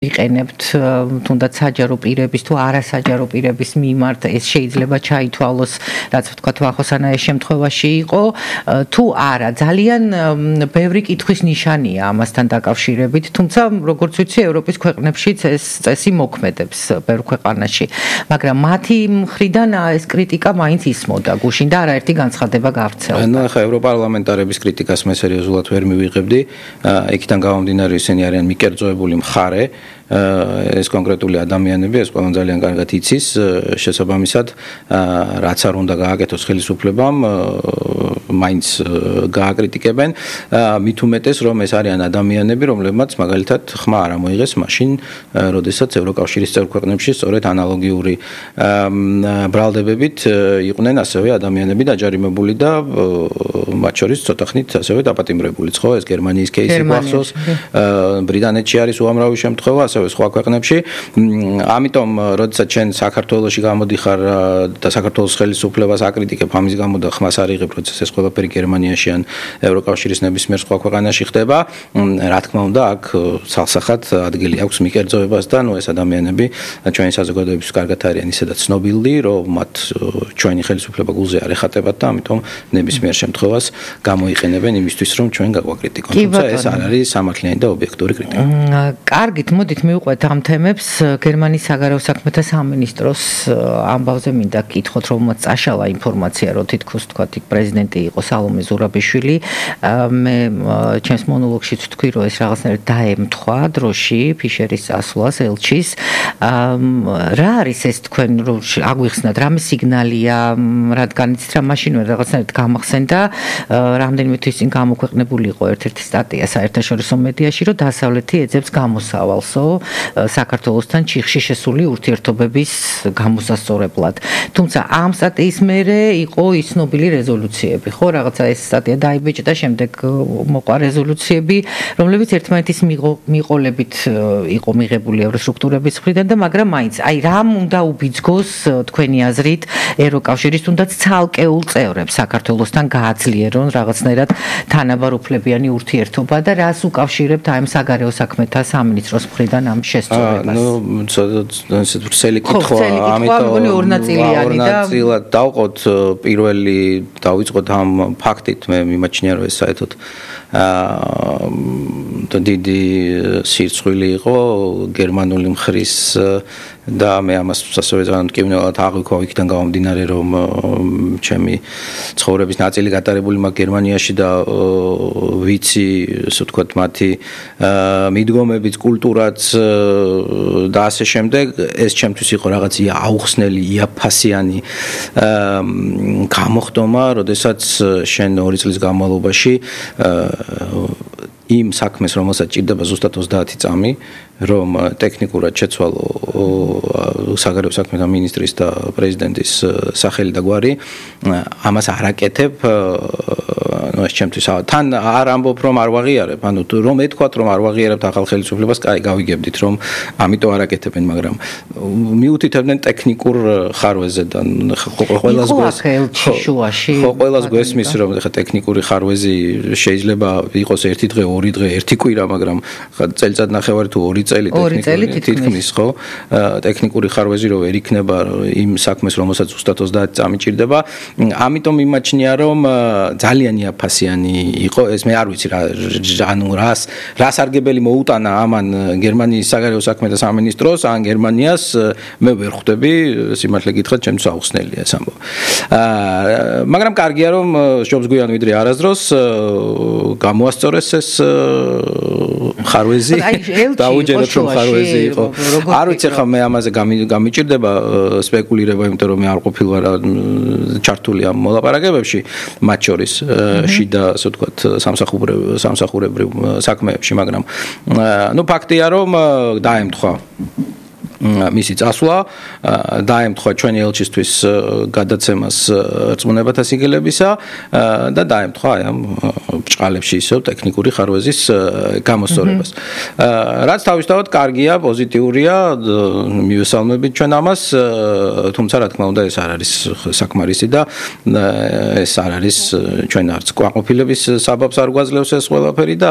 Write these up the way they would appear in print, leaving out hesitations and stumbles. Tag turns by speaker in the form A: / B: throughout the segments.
A: იყენებთ თუნდაც საჯარო პირების თუ არასაჯარო პირების მიმართ ეს შეიძლება ჩაითვალოს რაც ვთქვათ ვახოსანაეს შემთხვევაში იყო თუ არა ძალიან ბევრი კითხვის ნიშანია ამასთან დაკავშირებით თუმცა როგორც ვიცი ევროპის ქვეყნებშიც ეს წესი მოქმედებს ბევრ ქვეყანაში მაგრამ მათი მხრიდან ეს კრიტიკა მაინც ისმოდა გუშინ და არაერთი განცხადება გავრცელდა.
B: ნუ ახლა ევროპარლამენტარების კრიტიკას მე სერიოზულად ვერ მივიღებდი იქიდან გამომდინარე ისინი არიან მიკერძოებული მხარე ეს კონკრეტული ადამიანები ეს ყველამ ძალიან კარგად იცის შესაბამისად რაც არ უნდა გააკეთოს ხელისუფლებამ მაინც გააკრიტიკებენ მით უმეტეს რომ ეს არიან ადამიანები რომლებმაც მაგალითად ხმა არ ამოიღეს მაშინ როდესაც ევროკავშირის წევრ ქვეყნებში სწორედ ანალოგიური ბრალდებებით იყვნენ ასევე ადამიანები დაჯარიმებული და მათ შორის ცოტა ხნით ასევე დაპატიმრებულიც ხო ეს გერმანიის кейსი გვახსოვს ბრიტანეთში არის უამრავი შემთხვევა სხვა ქვეყნებში ამიტომ როდესაც ჩვენ საქართველოში გამოდიხარ და საქართველოს ხელისუფლებას აკრიტიკებ ამის გამო და ხმას არ იღებ როდესაც ეს ყველაფერი გერმანიაში ან ევროკავშირის ნებისმიერ სხვა ქვეყანაში ხდება რა თქმა უნდა აქ ცალსახად ადგილი აქვს მიკერძოებას და ნუ ეს ადამიანები ჩვენი საზოგადოების კარგად არიან ისედაც ცნობილი რომ მათ ჩვენი ხელისუფლება გულზე არ ეხატებათ და ამიტომ ნებისმიერ შემთხვევას გამოიყენებენ იმისთვის რომ ჩვენ გაგვაკრიტიკონ თუმცა ეს არ არის სამართლიანი და ობიექტური კრიტიკა.
A: კარგით მოდით მივყვეთ ამ თემებს გერმანიის საგარეო საქმეთა სამინისტროს ამბავზე მინდა გკითხოთ რომელმაც წაშალა ინფორმაცია რომ თითქოს თქვათ იქ პრეზიდენტი იყო სალომე ზურაბიშვილი მე ჩემს მონოლოგშიც ვთქვი რომ ეს რაღაცნაირად დაემთხვა დროში ფიშერის წასვლას ელჩის რა არის ეს თქვენ რომ აგვიხსნათ რამე სიგნალია რადგან იცით რა მაშინვე რაღაცნაირად გამახსენდა რამდენიმე თვის წინ გამოქვეყნებული იყო ერთ-ერთი სტატია საერთაშორისო მედიაში რომ დასავლეთი ეძებს გამოსავალსო საქართველოსთან ჩიხში შესული ურთიერთობების გამოსასწორებლად. თუმცა ამ სტატიის მერე იყო ის ცნობილი რეზოლუციები, ხო, რაღაცა ეს სტატია დაიბეჭდა, შემდეგ მოყვა რეზოლუციები, რომლებიც ერთმანეთის მიყოლებით იყო მიღებული ევროსტრუქტურების მხრიდან და მაგრამ მაინც აი რამ უნდა უბიძგოს თქვენი აზრით ევროკავშირის თუნდაც ცალკეულ წევრებს საქართველოსთან გააძლიერონ რაღაცნაირად თანაბარუფლებიანი ურთიერთობა და რას უკავშირებთ აი ამ საგარეო საქმეთა სამინისტროს მხრიდან ამ შესწორებას.
B: ნუ ესე ვრცელი კითხვა, ამიტომ
A: ორი ნაწილად
B: დავყოთ პირველი დავიწყოთ ამ ფაქტით მე მიმაჩნია რომ ეს საერთოდ დიდი სირცხვილი იყო გერმანული მხრის და მე ამას ასევე ძალიან მტკივნეულად აღვიქვა იქიდან გამომდინარე რომ ჩემი ცხოვრების ნაწილი გატარებული მაქვს გერმანიაში და ვიცი ასე ვთქვათ მათი მიდგომებიც კულტურაც და ასე შემდეგ ეს ჩემთვის იყო რაღაც აუხსნელი იაფასიანი გამოხდომა როდესაც შენ 2 წლის განმავლობაში იმ საქმეს რომელსაც ჭირდება ზუსტად 30 წამი რომ ტექნიკურად შეცვალო საგარეო საქმეთა მინისტრის და პრეზიდენტის სახელი და გვარი ამას არ აკეთებ ნუ ეს ჩემთვის თან არ ამბობ რომ არ ვაღიარებ ანუ რომ ეთქვათ რომ არ ვაღიარებთ ახალ ხელისუფლებას კაი გავიგებდით რომ ამიტომ არ აკეთებენ მაგრამ მიუთითებდნენ ტექნიკურ ხარვეზე და ყველას გვესმის რომ ხა ტექნიკური ხარვეზი შეიძლება იყოს 1 დღე 2 დღე 1 კვირა მაგრამ წელიწად ნახევარი თუ 2 წელი თითქმის ხო ტექნიკური ხარვეზი რო ვერ იქნება იმ საქმეს რომელსაც ზუსტად 30 წამი ჭირდება ამიტომ იმაჩნია რომ ძალიან იაფასიანი იყო ეს მე არ ვიცი რა ანუ რას არგებელი მოუტანა ამან გერმანიის საგარეო საქმეთა სამინისტროს ან გერმანიას მე ვერ ხვდები სიმართლე გითხრათ ჩემთვის აუხსნელია ეს ამბავი მაგრამ კარგია რომ შობს გვიან ვიდრე არასდროს გამოასწორეს ეს ხარვეზი დაუჯეროთ რომ ხარვეზი იყო არ ვიცი ხა მე ამაზე გამიჭირდება სპეკულირება იმიტომ რომ მე არ ყოფილვარ ჩართული ამ მოლაპარაკებებში მათ შორის შიდა ასე ვთქვათ სამსახურებრივ საქმეებში მაგრამ ნუ ფაქტია რომ დაემთხვა მისი წასვლა დაემთხვა ჩვენი ელჩისთვის გადაცემას რწმუნებათა სიგელებისა და დაემთხვა ამ ბჭყალებში ისევ ტექნიკური ხარვეზის გამოსწორებას. რაც თავისთავად კარგია, პოზიტიურია, მივესალმებით ჩვენ ამას, თუმცა რა თქმა უნდა ეს არ არის საკმარისი და ეს არ არის ჩვენ არც კვანყოფილების საბაბს არ გვაძლევს ეს ყველაფერი და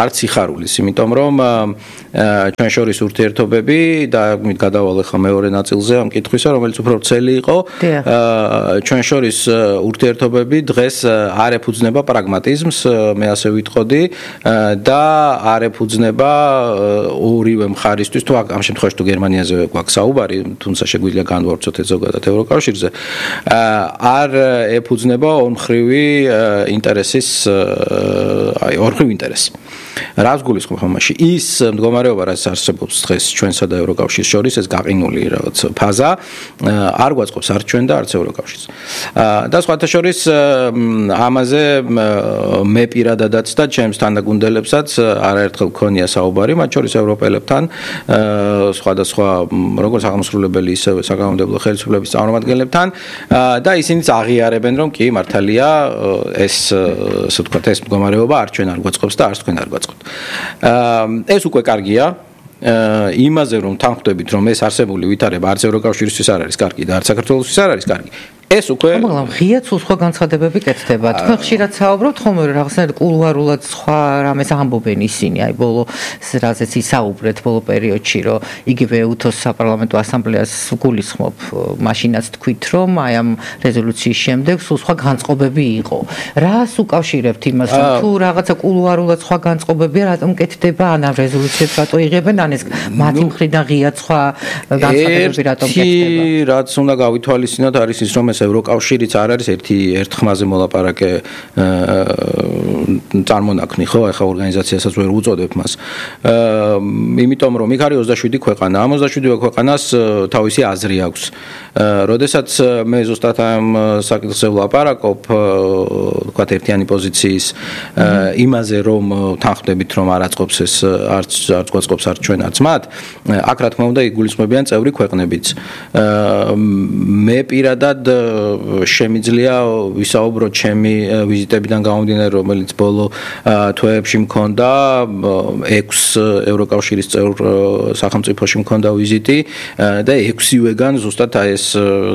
B: არც სიხარულის, იმიტომ რომ ჩვენ შორის ურთიერთობები და გადავალ ახლა მეორე ნაწილზე ამ კითხვისა, რომელიც უფრო ვრცელი იყო. ჩვენ შორის ურთიერთობები დღეს არ ეფუძნება პრაგმატიზმს, მე ასე ვიტყოდი და არ ეფუძნება ორივე მხარისთვის, თუ ამ შემთხვევაში თუ გერმანიაზე გვაქვს საუბარი, თუმცა შეგვიძლია განვავრცოთ ეს ზოგადად ევროკავშირზე, არ ეფუძნება ორმხრივი ინტერესის, ორმხრივი ინტერესი. რას გულისხმობ ამაში? ის მდგომარეობა, რაც არსებობს დღეს ჩვენსა და ევროკავშირის შორის, ეს გაყინული რაღაც ფაზა არ გვაწყობს არც ჩვენ და არც ევროკავშირს. და სხვათა შორის ამაზე მე პირადადაც და ჩემს თანაგუნდელებსაც არაერთხელ გქონია საუბარი, მათ შორის ევროპელებთან, სხვადასხვა როგორც აღმასრულებელი, ისევე საკანონმდებლო ხელისუფლების წარმომადგენლებთან და ისინიც აღიარებენ, რომ კი მართალია ეს ასე ვთქვათ, ეს მდგომარეობა არ ჩვენ არ გვაწყობს და არც თქვენ არ გვაწყობთ. ეს უკვე კარგია. იმაზე რომ თანხმდებით, რომ ეს არსებული ვითარება არც ევროკავშირისთვის არ არის კარგი და არც საქართველოსთვის არ არის კარგი. ეს უკვე
A: მაგრამ ღიად სხვა განცხადებები კეთდება. თქვენ ხშირად საუბრობთ ხოლმე რაღაცნაირად კულუარულად სხვა რამეს ამბობენ ისინი, აი ბოლო რაზეც ისაუბრეთ ბოლო პერიოდში, რომ იგივე უთოს საპარლამენტო ასამბლეას გულისხმობ, მაშინაც თქვით, რომ აი ამ რეზოლუციის შემდეგ სხვა განწყობები იყო. რას უკავშირებთ იმას, რომ თუ რაღაცა კულუარულად სხვა განწყობებია, რატომ კეთდება ან ამ რეზოლუციებს რატო იღებენ, ან ეს მათი მხრიდან ღიად სხვა განცხადებები რატომ კეთდება?
B: რაც უნდა გავითვალისწინოთ არის ის, რომ ევროკავშირიც არ არის ერთ ხმაზე მოლაპარაკე წარმონაქმნი, ხო, ახლა ორგანიზაციასაც ვერ უწოდებ მას. იმიტომ რომ იქ არის 27 ქვეყანა, ამ 27 ქვეყანას თავისი აზრი აქვს. როდესაც მე ზუსტად ამ საკითხზე ვლაპარაკობ, ვთქვათ, ერთიანი პოზიციის იმაზე, რომ თანხმდებით, რომ არ აწყობს ეს არც გვაწყობს არც ჩვენ არც მათ, აქ რა თქმა უნდა იგულისხმებიან წევრი ქვეყნებიც. მე პირადად შემიძლია ვისაუბროთ ჩემი ვიზიტებიდან გამომდინარე, რომელიც ბოლო თვეებში მქონდა 6 ევროკავშირის წევრ სახელმწიფოში მქონდა ვიზიტი და 6-ვეგან ზუსტად ეს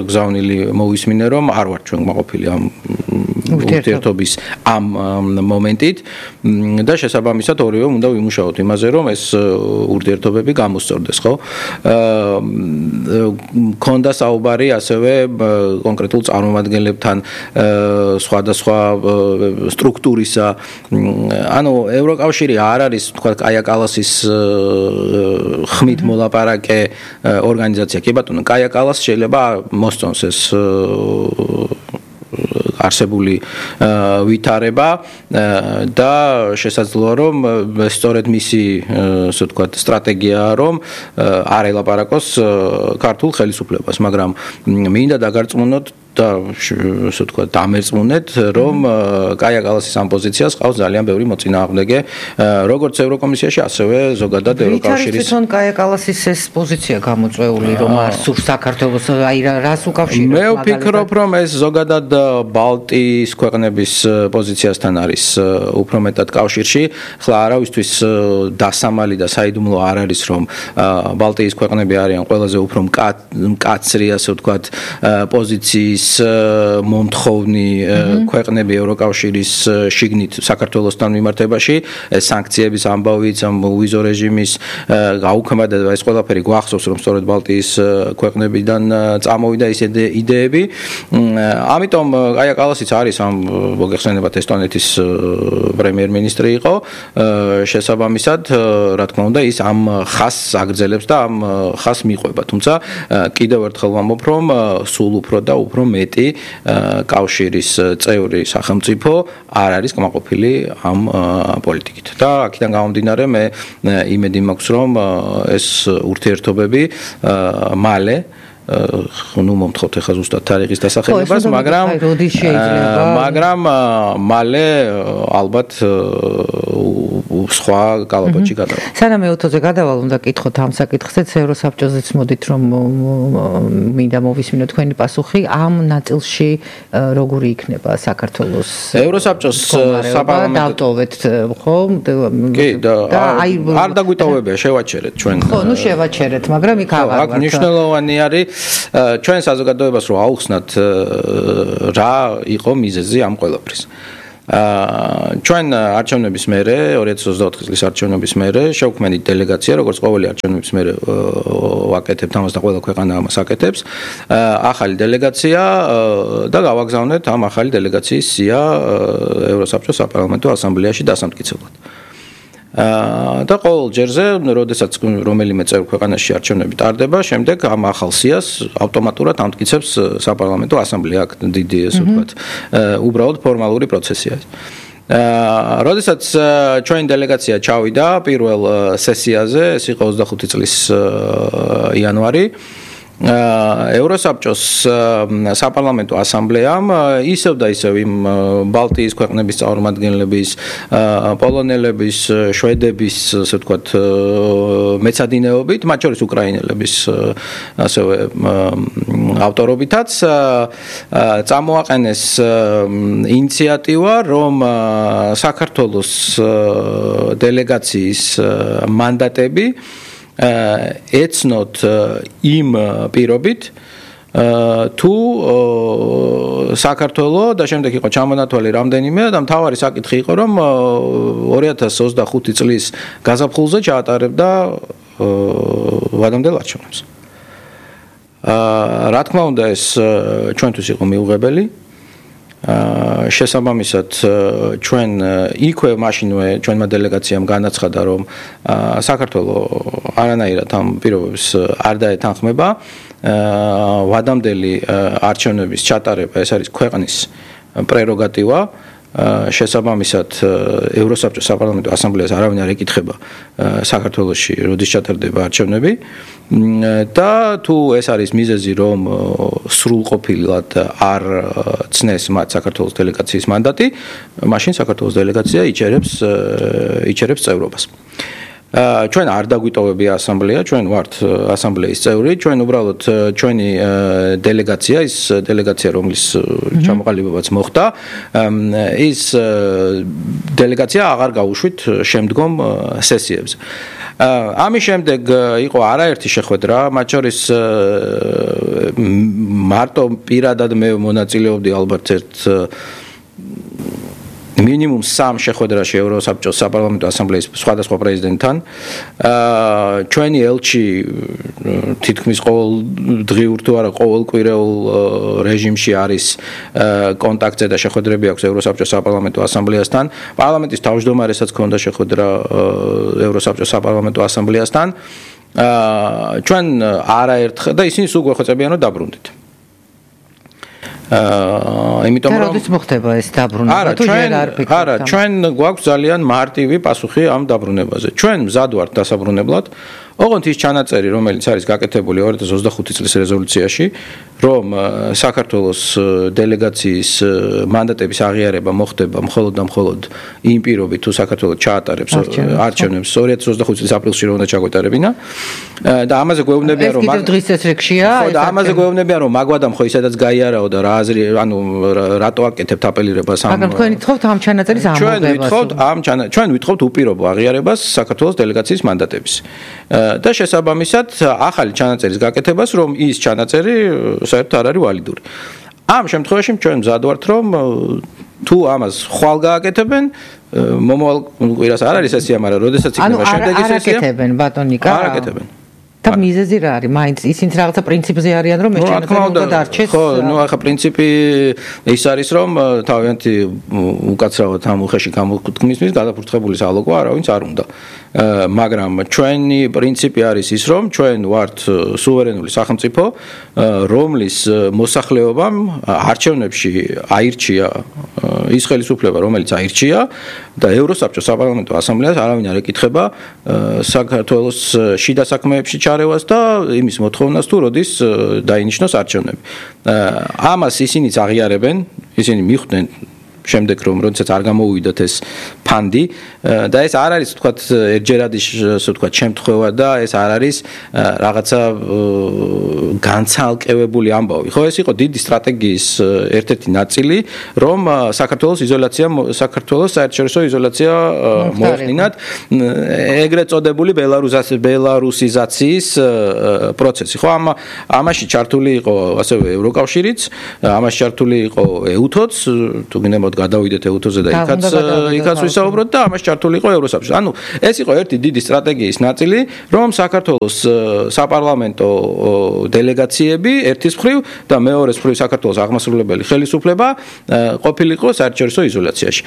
B: გზავნილი მოვისმინე, რომ არ ვარ ჩვენ მოყოფილი ამ ურთიერთობის ამ მომენტით და შესაბამისად ორივე უნდა ვიმუშაოთ იმაზე, რომ ეს ურთიერთობები გამოსწორდეს, ხო? მქონდა საუბარი ასევე კონკრეტულ წარმომადგენლებთან სხვადასხვა სტრუქტურისა. ანუ ევროკავშირი არ არის, თქვა, კაია კალასის ხმით მოლაპარაკე ორგანიზაცია. კი ბატონო, კაია კალას შეიძლება მოსწონს ეს არსებული ვითარება და შესაძლოა რომ სწორედ მისი ასე ვთქვათ სტრატეგიაა რომ არ ელაპარაკოს ქართულ ხელისუფლებას, მაგრამ მინდა დაგარწმუნოთ და ასე ვთქვათ დამერწმუნეთ, რომ კაია კალასის ამ პოზიციას ყავს ძალიან ბევრი მოწინააღმდეგე, როგორც ევროკომისიაში, ასევე ზოგადად ევროკავშირის.
A: თვითონ კაია კალასის ეს პოზიცია გამოწვეული, რომ არ სურს საქართველოს, აი რას უკავშირებს?
B: მე ვფიქრობ, რომ ეს ზოგადად ბალტიის ქვეყნების პოზიციასთან არის უფრო მეტად კავშირში. ხლა არავისთვის დასამალი და საიდუმლო არ არის, რომ ბალტიის ქვეყნები არიან ყველაზე უფრო მკაცრი, ასე ვთქვათ, პოზიციის მომთხოვნი ქვეყნები ევროკავშირის შიგნით საქართველოსთან მიმართებაში, სანქციების ამბავიც, ვიზო რეჟიმის გაუქმედება, ეს ყველაფერი გვახსოვს, რომ სწორედ ბალტიის ქვეყნებიდან წამოვიდა ეს იდეები. ამიტომ კაია კალასიც არის ამ მოგეხსენებათ ესტონეთის პრემიერ-მინისტრი იყო, შესაბამისად, რა თქმა უნდა, ის ამ ხაზს აგრძელებს და ამ ხაზს მიყვება. თუმცა კიდევ ერთხელ ვამბობ, რომ სულ უფრო და უფრო მეტი კავშირის წევრი სახელმწიფო არ არის კმაყოფილი ამ პოლიტიკით. და აქედან გამომდინარე მე იმედი მაქვს, რომ ეს ურთიერთობები მალე ну მომთხოვთ ახლა ზუსტად თარიღის დასახელებას, მაგრამ მალე ალბათ სხვა კალაპოტში გადავალ.
A: სანამ მეოთოზე გადავალ, უნდა კითხოთ ამ საკითხზეც ევროსაბჭოზეც მოდით რომ მინდა მოვისმინო თქვენი პასუხი ამ ნაწილში როგორი იქნება საქართველოს
B: ევროსაბჭოს საპარლამენტო
A: დავტოვეთ ხო?
B: კი და არ დაგვიტოვებია შევაჩერეთ ჩვენ.
A: ხო, ნუ შევაჩერეთ, მაგრამ იქ აღარ
B: აქ მნიშვნელოვანი არის ჩვენ საზოგადოებას რომ აუხსნათ რა იყო მიზეზი ამ ყველაფრის. ჩვენ არჩევნების მერე 2024 წლის არჩევნების მერე შევქმნით დელეგაცია, როგორც ყოველი არჩევნების მერე ვაკეთებთ ამას და ყველა ქვეყანა ამას აკეთებს. ახალი დელეგაცია და გავაგზავნეთ ამ ახალი დელეგაციის სია ევროსაბჭოს საპარლამენტო ასამბლეაში დასამტკიცებლად. და ყოველ ჯერზე, როდესაც რომელიმე წევრ ქვეყანაში არჩევნები ტარდება, შემდეგ ამ ახალ სიას ავტომატურად ამტკიცებს საპარლამენტო ასამბლეა, აქ დიდი ესე ვთქვათ, უბრალოდ ფორმალური პროცესია. როდესაც ჩვენი დელეგაცია ჩავიდა პირველ სესიაზე, ეს იყო 25 წლის იანვარი, ევროსაბჭოს საპარლამენტო ასამბლეამ ისევ და ისევ იმ ბალტიის ქვეყნების წარმომადგენლების, პოლონელების, შვედების, ასე ვთქვათ, მეცადინეობით, მათ შორის უკრაინელების ასევე ავტორობითაც წამოაყენეს ინიციატივა, რომ საქართველოს დელეგაციის მანდატები ეცნოთ იმ პირობით თუ საქართველო და შემდეგ იყო ჩამონათვალი რამდენიმე და მთავარი საკითხი იყო რომ 2025 წლის გაზაფხულზე ჩაატარებდა ვადამდელ არჩევნებს. რა თქმა უნდა ეს ჩვენთვის იყო მიუღებელი. შესაბამისად ჩვენ იქვე მაშინვე ჩვენმა დელეგაციამ განაცხადა რომ საქართველოს არანაირად ამ პირობებს არ დაეთანხმება ვადამდელი არჩევნების ჩატარება ეს არის ქვეყნის პრეროგატივა შესაბამისად ევროსაბჭოს საპარლამენტო ასამბლეას არავინ არ ეკითხება საქართველოში როდის ჩატარდება არჩევნები და თუ ეს არის მიზეზი რომ სრულყოფილად არ ცნეს მათ საქართველოს დელეგაციის მანდატი მაშინ საქართველოს დელეგაცია იჩერებს წევრობას ჩვენ არ დაგვიტოვებია ასამბლეა, ჩვენ ვართ ასამბლეის წევრი, ჩვენ უბრალოდ ჩვენი დელეგაცია, ის დელეგაცია, რომლის ჩამოყალიბებაც მოხდა, ის დელეგაცია აღარ გაუშვით შემდგომ სესიებზე. ამის შემდეგ იყო არაერთი შეხვედრა, მათ შორის მარტო პირადად მე მონაწილეობდი ალბათ ერთ მინიმუმ 3 შეხვედრაში ევროსაბჭოს საპარლამენტო ასამბლეის სხვადასხვა პრეზიდენტთან ჩვენი ელჩი თითქმის ყოველდღიურ თუ არა ყოველკვირეულ რეჟიმში არის კონტაქტზე და შეხვედრები აქვს ევროსაბჭოს საპარლამენტო ასამბლეასთან პარლამენტის თავმჯდომარესაც ჰქონდა შეხვედრა ევროსაბჭოს საპარლამენტო ასამბლეასთან ჩვენ არაერთხელ და ისინი სულ გვეხოცებიან რომ დაბრუნდეთ იმიტომ რომ
A: როდის მოხდება ეს დაბრუნება თუ ჯერ არ ფიქრობთ
B: არა ჩვენ გვაქვს ძალიან მარტივი პასუხი ამ დაბრუნებაზე ჩვენ მზად ვართ დასაბრუნებლად ოღონდ ის ჩანაწერი რომელიც არის გაკეთებული 2025 წლის რეზოლუციაში რომ საქართველოს დელეგაციის მანდატების აღიარება მოხდება მხოლოდ და მხოლოდ იმ პირობით თუ საქართველოს ჩაატარებს არჩევნებს 2025 წლის აპრილში რომ უნდა ჩაგვეტარებინა და ამაზე გვეუბნებიან რომ
A: ეს დღის წესრიგშია
B: ხო და ამაზე გვეუბნებიან რომ მაგვადამ ხო ისედაც გაიარაო და რა აზრი ანუ რატო აკეთებთ აპელირებას ამ
A: მაგრამ თქვენ ვითხოვთ ამ ჩანაწერის ამოღებას
B: ჩვენ ვითხოვთ უპირობო აღიარებას საქართველოს დელეგაციის მანდატების და შესაბამისად ახალი ჩანაწერის გაკეთებას რომ ის ჩანაწერი საერთოდ არ არის ვალიდური. ამ შემთხვევაში ჩვენ მზად ვართ რომ თუ ამას ხვალ გააკეთებენ მომავალ კვირას არ არის სესია, მაგრამ როდესაც იქნება შემდეგი სესია.
A: არ აკეთებენ ბატონიკა.
B: არ აკეთებენ.
A: და მიზეზი რა არის? მაინც ისინი რაღაცა პრინციპზე არიან რომ ეს ჩანაწერი უნდა დარჩეს.
B: ხო, ნუ ახლა პრინციპი ის არის რომ თავიანთი უკაცრავად ამ უხეში გამოთქმისმის გადაფურთხებული სალოკვა არავინც არ უნდა. მაგრამ ჩვენი პრინციპი არის ის რომ ჩვენ ვართ სუვერენული სახელმწიფო რომლის მოსახლეობამ არჩევნებში აირჩია ის ხელისუფლება რომელიც აირჩია და ევროსაბჭოს საპარლამენტო ასამბლეას არავინ არ ეკითხება საქართველოს შიდა საქმეებში ჩარევას და იმის მოთხოვნას თუ როდის დაინიშნოს არჩევნები. ამას ისინიც აღიარებენ, ისინი მიხვდნენ შემდეგ რომ როდესაც არ გამოუვიდოთ ეს ფანდი და ეს არ არის თქვათ ერთჯერადი ასე ვთქვათ შემთხვევა და ეს არ არის რაღაცა განცალკევებული ამბავი. ხო, ეს იყო დიდი სტრატეგიის ერთ-ერთი ნაწილი, რომ საქართველოს საერთაშორისო იზოლაცია მოეხდინათ ეგრეთ წოდებული ბელარუსიზაციის პროცესი. ხო, ამაში ჩართული იყო ასევე ევროკავშირიც, ამაში ჩართული იყო EUTO-ც, თუ გინებოდ გადავიდეთ EUTO-ზე და იქაც ვისაუბროთ და ამაში ჩართული იყო ევროსაბჭო. ანუ ეს იყო ერთი დიდი სტრატეგიის ნაწილი, რომ საქართველოს საპარლამენტო დელეგაციები ერთის მხრივ და მეორეს მხრივ საქართველოს აღმასრულებელი ხელისუფლება ყოფილიყო საერთაშორისო იზოლაციაში.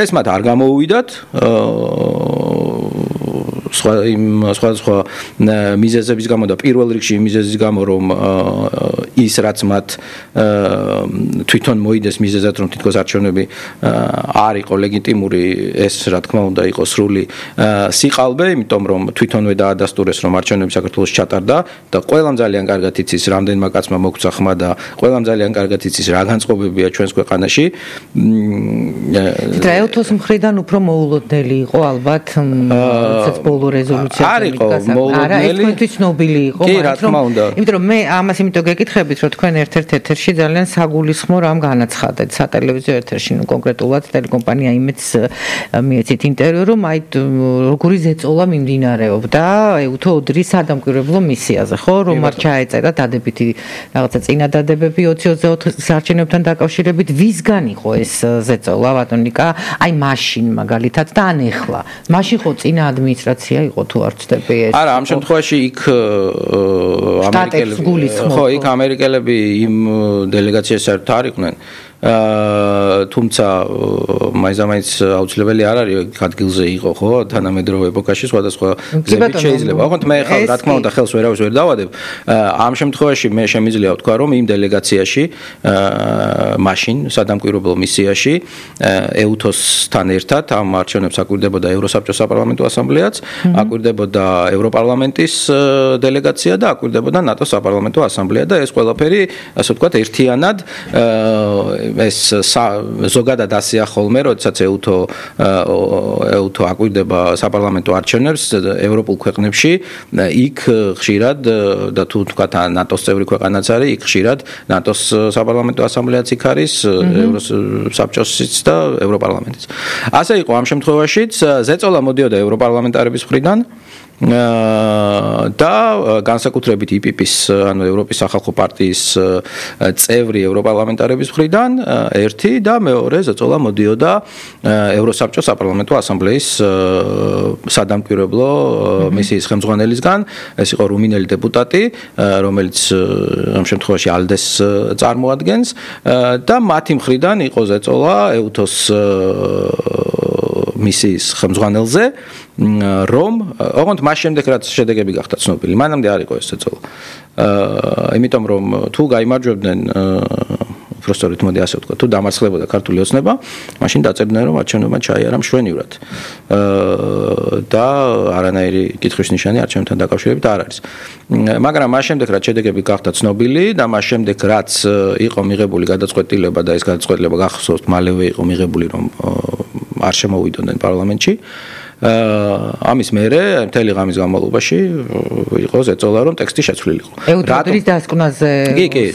B: ეს მათ არ გამოუვიდათ სხვა მიზეზების გამო და პირველ რიგში მიზეზის გამო რომ ის რაც მათ თვითონ მოიდეს მიზეზად რომ თითქოს არჩევნები არ იყო ლეგიტიმური ეს რა თქმა უნდა იყო სრული სიყალბე იმიტომ რომ თვითონვე დაადასტურეს რომ არჩევნები საქართველოს ჩატარდა და ყველამ ძალიან კარგად იცის რამდენმა კაცმა მოგცა ხმა და ყველამ ძალიან კარგად იცის რა განწყობებია ჩვენს ქვეყანაში
A: EUTO-ს მხრიდან უფრო მოულოდნელი იყო ალბათ როდესაც ბოლო რეზოლუცია
B: არ იყო მოულოდნელი
A: ეს თქვენთვის ცნობილი იყო იმიტომ რომ მე ამას იმიტომ გეკითხებით რომ თქვენ ერთ-ერთ ეთერში ძალიან საგულისხმო რამ განაცხადეთ სატელევიზიო ეთერში კონკრეტულად ტელეკომპანია იმედს მიეცით ინტერვიუ რომ აი როგორი ზეწოლა მიმდინარეობდა EUTO ოდრის სადამკვირვებლო მისიაზე ხო რომ არ ჩაეწერა დადებითი რაღაცა წინადადებები 2024 არჩევნებთან დაკავშირებით ვისგან იყო ეს ზეწოლა ბატონიკა აი მაშინ მაგალითად და ან ეხლა მაშინ ხო წინა ადმინისტრაცია იყო თუ არ ვცდები ეს
B: არა ამ შემთხვევაში იქ ამერიკელები იმ დელეგაციაში საერთოდ არ იყვნენ თუმცა მაინც აუცილებელი არ არის ადგილზე იყო ხო თანამედროვე ეპოქაში სხვადასხვა გზებით შეიძლება ოღონდ მე ხალ რა თქმა უნდა ხელს ვერავის ვერ დავადებ ამ შემთხვევაში მე შემიძლია ვთქვა რომ იმ დელეგაციაში მაშინ სადამკვირვებლო მისიაში EUTO-სთან ერთად ამ არჩევნებს აკვირდებოდა ევროსაბჭოს საპარლამენტო ასამბლეაც აკვირდებოდა ევროპარლამენტის დელეგაცია და აკვირდებოდა ნატოს საპარლამენტო ასამბლეა და ეს ყველაფერი ასე ვთქვათ ერთიანად ეს ზოგადად ასეა ხოლმე, როდესაც EUTO აკვირდება საპარლამენტო არჩევნებს ევროპულ ქვეყნებში, იქ ხშირად და თუ თქვა ნატოს წევრი ქვეყანაც არის, იქ ხშირად ნატოს საპარლამენტო ასამბლეაც იქ არის, ევროსაბჭოსიც და ევროპარლამენტიც. ასე იყო ამ შემთხვევაშიც, ზეწოლა მოდიოდა ევროპარლამენტარების მხრიდან და განსაკუთრებით IPP-ის, ანუ ევროპის სახალხო პარტიის წევრი ევროპარლამენტარების მხრიდან ერთი და მეორე ზეწოლა მოდიოდა ევროსაბჭოს საპარლამენტო ასამბლეის სადამკვირვებლო მისიის ხელმძღვანელისგან, ეს იყო რუმინელი დეპუტატი, რომელიც ამ შემთხვევაში ALDE-ს წარმოადგენს და მათი მხრიდან იყო ზეწოლა EUTO-ს მისიის ხელმძღვანელზე რომ ოღონდ მას შემდეგ რაც შედეგები გახდა ცნობილი მანამდე არ იყო ეს ზეწოლა იმიტომ რომ თუ გაიმარჯვებდნენ უბრალოდ მოდი ასე ვთქვა თუ დამარცხდებოდა ქართული ოცნება მაშინ დაწერდნენ რომ არჩევნებმა ჩაიარა მშვენივრად და არანაირი კითხვის ნიშანი არჩევნებთან დაკავშირებით არ არის მაგრამ მას შემდეგ რაც შედეგები გახდა ცნობილი და მას შემდეგ რაც იყო მიღებული გადაწყვეტილება და ეს გადაწყვეტილება გახსოვთ მალევე იყო მიღებული რომ არ შემოვიდოდნენ პარლამენტში ამის მერე მთელი ღამის განმავლობაში იყო ზეწოლა რომ ტექსტი შეცვლილიყო.
A: EUTO-ის დასკვნაზე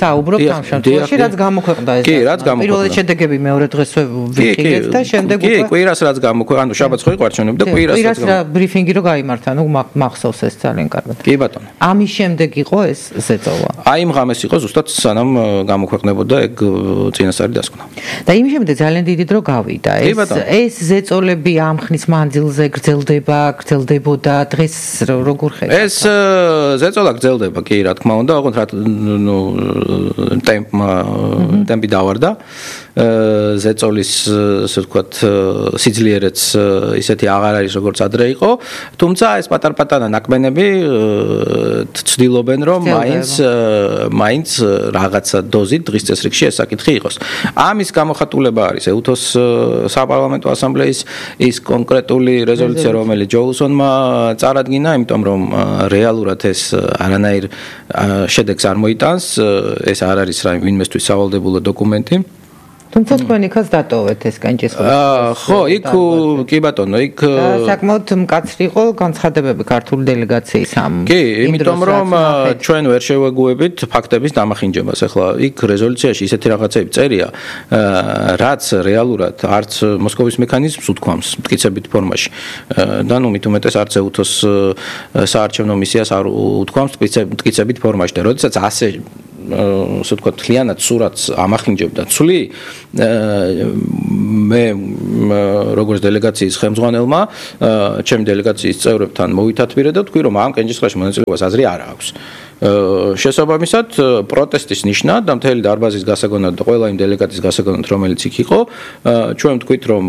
A: საუბრობთ ამ შემთხვევაში რაც გამოქვეყნდა ეს.
B: კი, რაც გამოქვეყნდა.
A: პირველი შედეგები მეორე დღესვე ვიქილეთ და შემდეგ
B: უკვე კი, კვირას რაც გამოქვეყნდა, ანუ შაბათს ხო იყო არჩევნები და კვირას
A: ბრიფინგი რო გაიმართა, ნუ მახსოვს ეს ძალიან კარგად.
B: კი ბატონო.
A: ამის შემდეგ იყო ეს ზეწოლა.
B: აი იმ ღამეს იყო ზუსტად სანამ გამოქვეყნებოდა ეგ წინასწარი დასკვნა.
A: და იმ შემდეგ ძალიან დიდი დრო გავიდა. ეს ზეწოლები ამ ხნის მანძილზე გრძელდებოდა დღეს როგორ ხედავთ?
B: ეს ზეწოლა გრძელდება კი რა თქმა უნდა, ოღონდ რა ნუ ტემპი დავარდა. ზეწოლის ასე ვთქვათ სიძლიერეც ისეთი აღარ არის როგორც ადრე იყო, თუმცა ეს პატარ-პატარა ნაკმენები ცდილობენ რომ მაინც რაღაცა დოზით დღის წესრიგში ეს საკითხი იყოს. ამის გამოხატულება არის EUTO-ს საპარლამენტო ასამბლეის ის კონკრეტული რეზოლუცია რომელიც ჯოუსონმა წარადგინა, იმიტომ რომ რეალურად ეს არანაირ შედეგს არ მოიტანს, ეს არ არის ვინმესთვის სავალდებულო დოკუმენტი.
A: თუმცა თქვენ იქაც დატოვეთ ეს კენჭისყრის.
B: ხო, იქ კი ბატონო, იქ
A: საკმაოდ მკაცრი იყო განცხადებები ქართული დელეგაციის ამ.
B: კი, იმიტომ რომ ჩვენ ვერ შევეგუებით ფაქტების დამახინჯებას. ახლა იქ რეზოლუციაში ისეთი რაღაცები წერია, რაც რეალურად არც მოსკოვის მექანიზმს უთქვამს მტკიცებით ფორმაში. და ნუ მით უმეტეს არც ეუთოს საარჩევნო მისიას არ უთქვამს მტკიცებით ფორმაში და როდესაც ასე ასე ვთქვათ, მთლიანად სურათს ამახინჯებდა ცვლი, მე როგორც დელეგაციის ხელმძღვანელმა, ჩემი დელეგაციის წევრებთან მოვითათბირე და ვთქვი, რომ ამ კენჭისყრაში მონაწილეობას აზრი არ აქვს. შესაბამისად, პროტესტის ნიშნად და მთელი დარბაზის გასაგონად და ყველა იმ დელეგატის გასაგონად, რომელიც იქ იყო, ჩვენ ვთქვით, რომ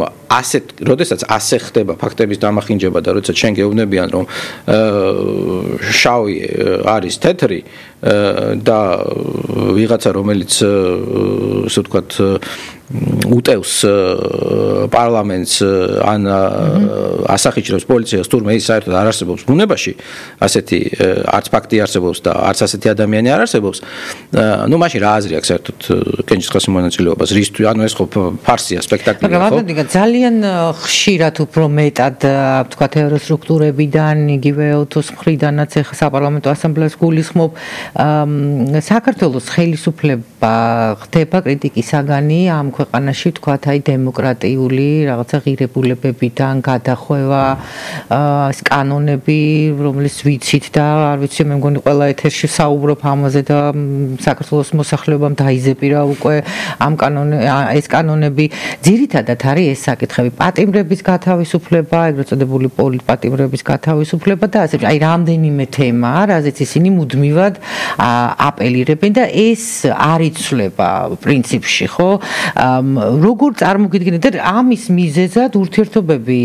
B: როდესაც ასე ხდება ფაქტების დამახინჯება და როდესაც ჩვენ გეუბნებიან, რომ შავი არის თეთრი და ვიღაცა რომელიც ასე ვთქვათ უტევს პარლამენტს ან ასახიჭრებს პოლიციას თურმე ის საერთოდ არ არსებობს ბუნებაში ასეთი არც ფაქტი არსებობს და არც ასეთი ადამიანი არ არსებობს ნუ მაშინ რა აზრი აქვს საერთოდ კენჭისყრის მონაწილეობას რისთვის ანუ ეს ხო ფარსია სპექტაკლია ხო
A: მაგრამ ძალიან ხშირად უფრო მეტად ვთქვათ ევროსტრუქტურებიდან იგივე ეთოს მხრიდანაც ეხა საპარლამენტო ასამბლეას გულისხმობ საქართველოს ხელისუფლება ხდება კრიტიკის საგანი ამ ქვეყანაში ვთქვათ აი დემოკრატიული რაღაცა ღირებულებებიდან გადახვევა კანონები რომლის ვიცით და არ ვიცი მე მგონი ყველა ეთერში საუბრობ ამაზე და საქართველოს მოსახლეობამ დაიზეპირა უკვე ამ ეს კანონები ძირითადად არის ეს საკითხები პატიმრების გათავისუფლება ეგრეთ წოდებული პოლიტპატიმრების გათავისუფლება და ასე აი რამდენიმე თემა რაზეც ისინი მუდმივად აპელირებენ და ეს არ იცვლება პრინციპში ხო როგორ წარმოგიდგენთ და ამის მიზეზად ურთიერთობები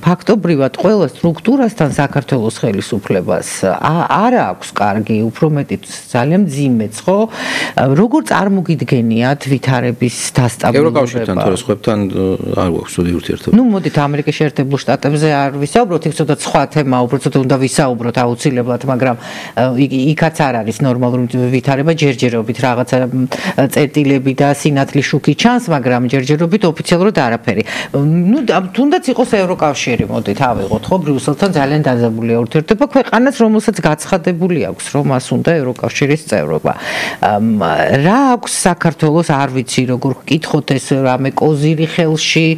A: ფაქტობრივად ყველა სტრუქტურასთან საქართველოს ხელისუფლებას არ აქვს კარგი უფრო მეტიც ძალიან მძიმეც ხო როგორ წარმოგიდგენიათ ვითარების დასტაბილურება
B: ევროკავშირთან თუ სხვებთან არ გვაქვს ცუდი ურთიერთობა
A: ნუ მოდით ამერიკის შეერთებულ შტატებზე არ ვისაუბროთ იქ ცოტა სხვა თემა უბრალოდ უნდა ვისაუბროთ აუცილებლად მაგრამ იქაც არ არის ნორმალური ვითარება ჯერჯერობით რაღაცა წერტილები და სინათლის შუქი ჩანს მაგრამ ჯერჯერობით ოფიციალურად არაფერი ნუ თუნდაც იყოს ევროკავშირი მოდით ავიღოთ ხო ბრიუსელთან ძალიან დაძაბულია ურთიერთობა ქვეყანას რომელსაც გაცხადებული აქვს რომ მას უნდა ევროკავშირის წევრობა რა აქვს საქართველოს არ ვიცი როგორ ვკითხოთ ეს რამე კოზირი ხელში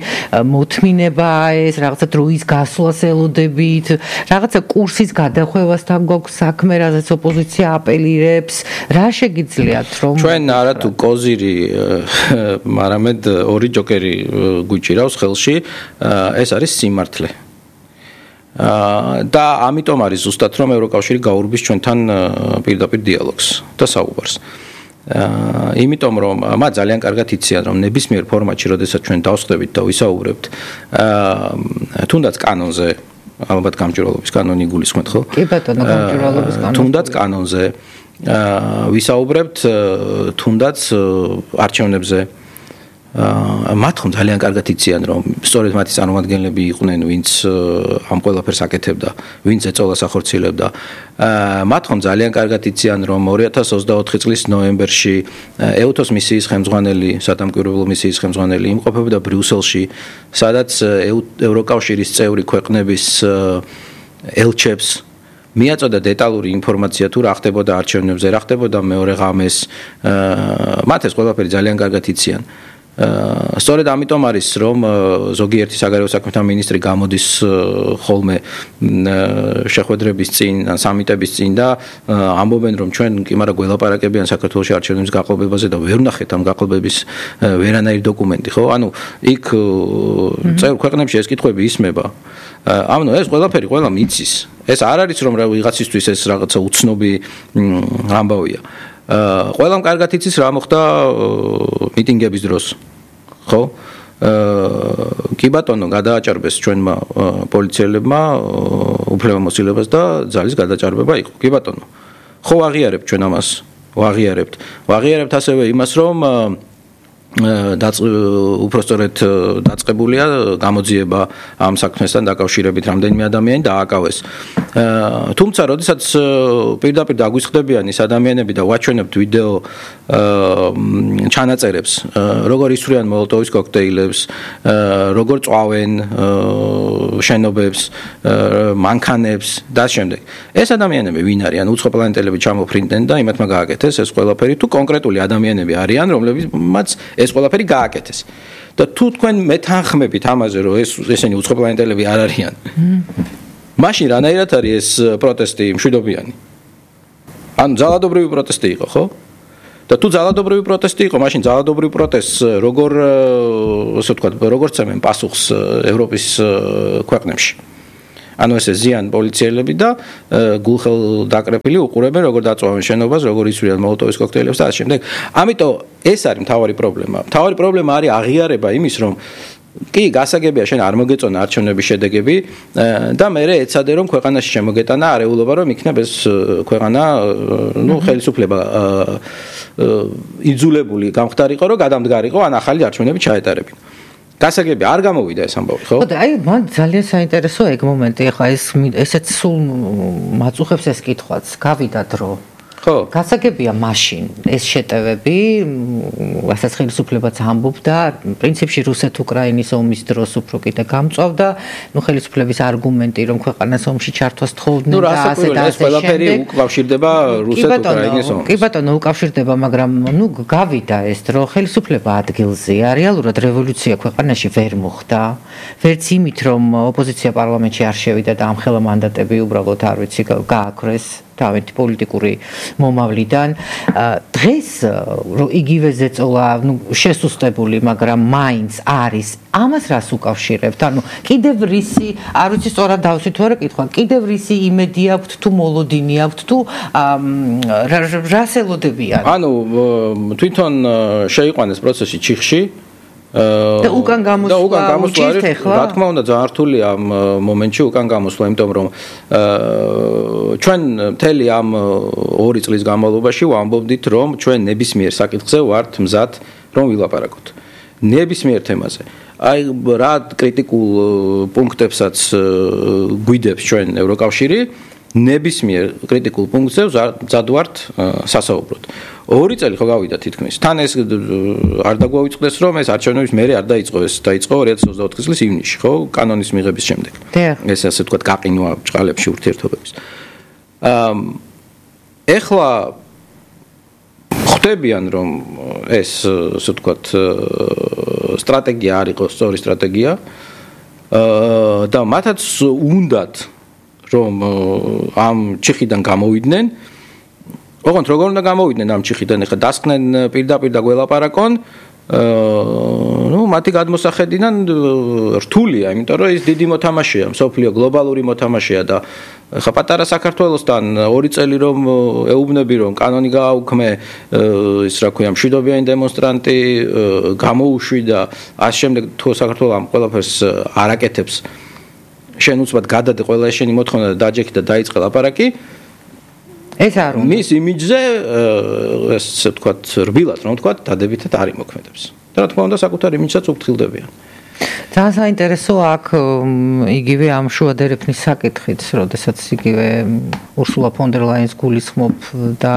A: მოთმინება ეს რაღაცა დროის გასვლას ელოდებით რაღაცა კურსის გადახვევასთან გვაქვს საქმე რაზეც ოპოზიცია აპელირებს რა შეგიძლიათ რომ
B: ჩვენ არა თუ კოზირი არამედ ორი ჯოკერი გვიჭირავს ხელში ეს არის სიმართლე და ამიტომ არის ზუსტად რომ ევროკავშირი გაურბის ჩვენთან პირდაპირ დიალოგს და საუბარს იმიტომ რომ მათ ძალიან კარგად იციან რომ ნებისმიერ ფორმატში როდესაც ჩვენ დავსხდებით და ვისაუბრებთ თუნდაც კანონზე ალბათ გამჭვირვალობის კანონი გულისხმობთ ხო?
A: კი ბატონო გამჭვირვალობის კანონი
B: თუნდაც კანონზე ვისაუბრებთ თუნდაც არჩევნებზე მათ ხომ ძალიან კარგად იციან რომ სწორედ მათი წარმომადგენლები იყვნენ ვინც ამ ყველაფერს აკეთებდა ვინც ეწოლას ახორციელებდა მათ ხომ ძალიან კარგად იციან რომ 2024 წლის ნოემბერში ეუთოს მისიის ხელმძღვანელი სადამკვირვებლო მისიის ხელმძღვანელი იმყოფებოდა ბრიუსელში სადაც ევროკავშირის წევრი ქვეყნების ელჩებს მიაწოდა დეტალური ინფორმაცია თუ რა ხდებოდა არჩევნებზე რა ხდებოდა მეორე ღამეს მათ ეს ყველაფერი ძალიან კარგად იციან სწორედ ამიტომ არის რომ ზოგიერთი საგარეო საქმეთა მინისტრი გამოდის ხოლმე შეხვედრების წინ ან სამიტების წინ და ამბობენ რომ ჩვენ კი მაგრამ გველაპარაკებიან საქართველოს არჩევნების გაყოლბებაზე და ვერ ვნახეთ ამ გაყოლბების ვერანაირი დოკუმენტი ხო ანუ იქ წევრ ქვეყნებში ეს კითხვები ისმება ანუ ეს ყველაფერი ყველა მიცის ეს არ არის რომ ვიღაცისთვის ეს რაღაცა უცნობი ამბავია ყველამ კარგად იცის რა მოხდა მიტინგების დროს ხო კი ბატონო გადააჭარბეს ჩვენმა პოლიციელებმა უფლებამოსილებას და ძალის გადაჭარბება იყო კი ბატონო ხო ვაღიარებთ ჩვენ ამას ვაღიარებთ ასევე იმას რომ უпростоრეთ დაწყებულია გამოძიება ამ საქმესთან დაკავშირებით რამდენიმე ადამიანი დააკავეს. თუმცა, როდესაც პირდაპირ დაგვისხდებიან ის ადამიანები და ვაჩვენებთ ვიდეო ჩანაწერებს, როგორ ისვრიან მოლოტოვის კოქტეილებს, როგორ წვავენ შენობებს, მანქანებს და შემდეგ. ეს ადამიანები ვინ არიან? უცხო პლანეტელები ჩამოფრინდნენ და იმათმა გააკეთეს ეს ყველაფერი, თუ კონკრეტული ადამიანები არიან, რომლებიც ეს ყველაფერი გააკეთეს. და თუ თქვენ მეთანხმებით ამაზე, რომ ესენი უცხო პლანეტელები არ არიან, მაშინ რანაირად არის ეს პროტესტი მშვიდობიანი? ანუ ძალადობრივი პროტესტი იყო, ხო? და თუ ძალადობრივი პროტესტი იყო, მაშინ ძალადობრივ პროტესტს როგორ ასე ვთქვათ, როგორ წემენ პასუხს ევროპის ქვეყნებში? ანუ ესე ზიან პოლიციელები და გულხელ დაკრეფილი უყურებენ როგორ დაწვავენ შენობას, როგორ ისვრიან მოლოტოვის კოქტეილებს და ამ შემდეგ. ამიტომ ეს არის მთავარი პრობლემა. მთავარი პრობლემა არის აღიარება იმის, რომ კი გასაგებია შენ არ მოგეწონა არჩევნების შედეგები და მე ეცადე რომ ქვეყანაში შემოგეტანა არეულობა რომ იქნებ ეს ქვეყანა ხელისუფლება იძულებული გამხდარიყო რომ გადამდგარიყო ან ახალი არჩევნები ჩაეტარებინა. გასაგები არ გამოვიდა ეს ამბავი, ხო?
A: ხო და აი მან ძალიან საინტერესოა ეგ მომენტი, ახლა ესეც სულ მაწუხებს ეს კითხვაც, გავიდა დრო. ხო. გასაგებია მაშინ ეს შეტევები, რასაც ხელისუფლებაც ამბობდა, პრინციპში რუსეთ-უკრაინის ომის დროს უფრო კიდე გამწვავდა, ხელისუფლების არგუმენტი, რომ ქვეყანას ომში ჩართვას თხოვდნენ და ასე და
B: ეს ყველაფერი უკავშირდება რუსეთ-უკრაინის ომს.
A: კი ბატონო, უკავშირდება, მაგრამ გავიდა ეს დრო, ხელისუფლება ადგილზეა, რეალურად რევოლუცია ქვეყანაში ვერ მოხდა, ვერც იმით, რომ ოპოზიცია პარლამენტში არ შევიდა და ამხელა მანდატები უბრალოდ არ ვიცი გააქრეს. თავით პოლიტიკური მომავლიდან დღეს იგივე ზეწოლა შესუსტებული, მაგრამ მაინც არის ამას რას უკავშირებთ? ანუ კიდევ რისი, არ ვიცი სწორად დავსვით თუ არა კითხვა, კიდევ რისი იმედი აქვთ თუ მოლოდინი აქვთ თუ რას ელოდებიან?
B: ანუ თვითონ შეიყვანეს პროცესი ჩიხში
A: და უკან გამოსვლა უჭირთ ახლა?
B: რა თქმა უნდა ძალიან რთულია ამ მომენტში უკან გამოსვლა, იმიტომ რომ ჩვენ მთელი ამ 2 წლის განმავლობაში ვამბობდით, რომ ჩვენ ნებისმიერ საკითხზე ვართ მზად რომ ვილაპარაკოთ. ნებისმიერ თემაზე. აი რა კრიტიკულ პუნქტებსაც გვიდებს ჩვენ ევროკავშირი, ნებისმიერ კრიტიკულ პუნქტზე მზად ვართ სასაუბროთ. 2 წელი ხო გავიდა თითქმის. თან ეს არ დაგვაუწყდეს რომ ეს არჩევნების მერე არ დაიწყო, ეს დაიწყო 2024 წლის ივნისში, ხო, კანონის მიღების შემდეგ. ეს ასე ვთქვათ გაყინვა ბრჭყალებში ურთიერთობების. ეხლა ხვდებიან რომ ეს ასე ვთქვათ სტრატეგია არ იყო სწორი სტრატეგია და მათაც უნდათ რომ ამ ჩიხიდან გამოვიდნენ. ოღონდ როგორ უნდა გამოვიდნენ ამ ჩიხიდან? ეხლა დასკნენ პირდაპირ და გველაპარაკონ. მათი გადმოსახედიდან რთულია, იმიტომ რომ ის დიდი მოთამაშეა, მსოფლიო გლობალური მოთამაშეა და ეხლა პატარა საქართველოსთან 2 წელი რომ ეუბნები რომ კანონი გააუქმე, ის რა ქვია, მშვიდობიანი დემონსტრანტი გამოუშვი და ამ შემდეგ თუ საქართველოს ამ ყველაფერს არ აკეთებს, შენ უცბად გადადე ყველა შენი მოთხოვნა და დაჯექი და დაიწყე ლაპარაკი.
A: ეს არ უნდა.
B: მის იმიჯზე ესე ვთქვათ, რბილად რომ ვთქვათ, დადებითად არ იმოქმედებს. და რა თქმა უნდა, საკუთარ იმიჯსაც უფრთხილდებიან.
A: ძალიან საინტერესოა აქ იგივე ამ შუადერეფნის საკითხიც, როდესაც იგივე ურსულა ფონ დერ ლაიენს გულისხმობ და